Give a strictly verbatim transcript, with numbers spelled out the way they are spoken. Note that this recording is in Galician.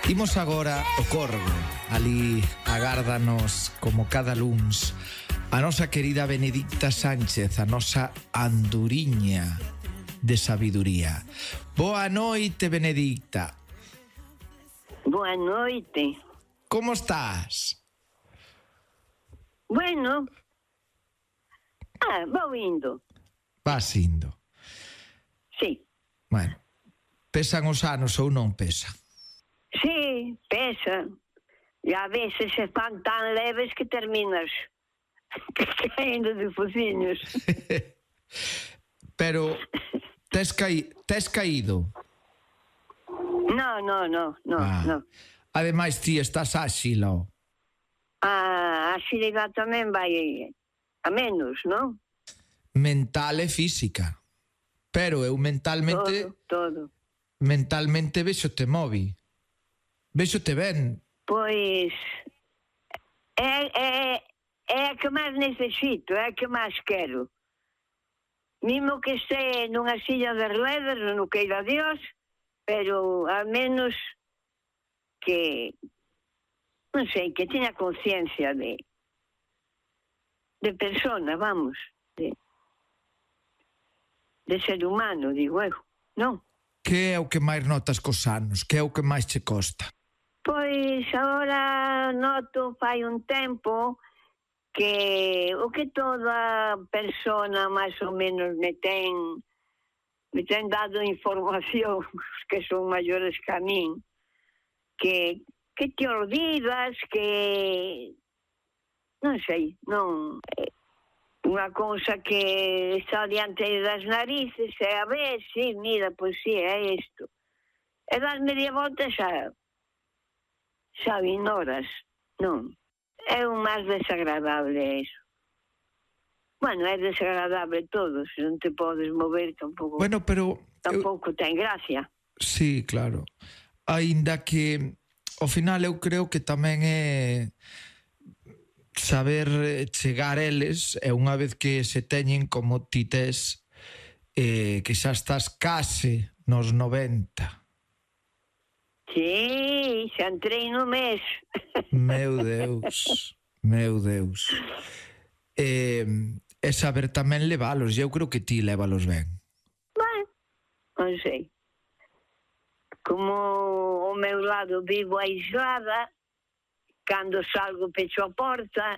Imos agora o Corgo. Ali agárdanos como cada luns a nosa querida Benedicta Sánchez, a nosa anduriña de sabiduría. Boa noite, Benedicta. Boa noite. Como estás? Bueno, ah, vou indo. Vas indo. Sí. Bueno, pesan os anos ou non pesan? Sí, pesa. E a veces se fan tan leves que terminas caindo de fociños. Pero tes, caí, tes caído? No, no, no, no, Ah. no. Ademais, ti estás áxilo. A axilidade tamén vai a menos, non? Mental e física. Pero eu mentalmente... Todo, todo. Mentalmente vexo-te movi. Vexo-te ben. Pois é, é, é a que máis necesito, é a que máis quero. Mimo que este nunha silla de ruedas, non queira Dios, pero al menos que, non sei, que teña conciencia de de persona, vamos, de, de ser humano, digo eu, non? Que é o que máis notas cos anos? Que é o que máis che costa? Pois agora noto fai un tempo que o que toda persona máis ou menos me ten me ten dado información que son maiores que a min, que, que te olvidas, que non sei, non é unha cousa que está diante das narices e a ver, sí, mira, pois sí, é isto. E das media volta xa xa ignoras, non? É o máis desagradable iso. Bueno, é desagradable todo, se non te podes mover tampouco. Bueno, pero... Tampouco eu... ten gracia. Sí, claro. Aínda que ao final eu creo que tamén é saber chegar eles e unha vez que se teñen como ti tes, eh, que xa estás case nos noventa. Sí, xa entrei no mes. Meu Deus, meu Deus. Eh, e saber tamén levalos, eu creo que ti levalos ben. Bueno, non sei. Como o meu lado vivo aislada, cando salgo pecho a porta,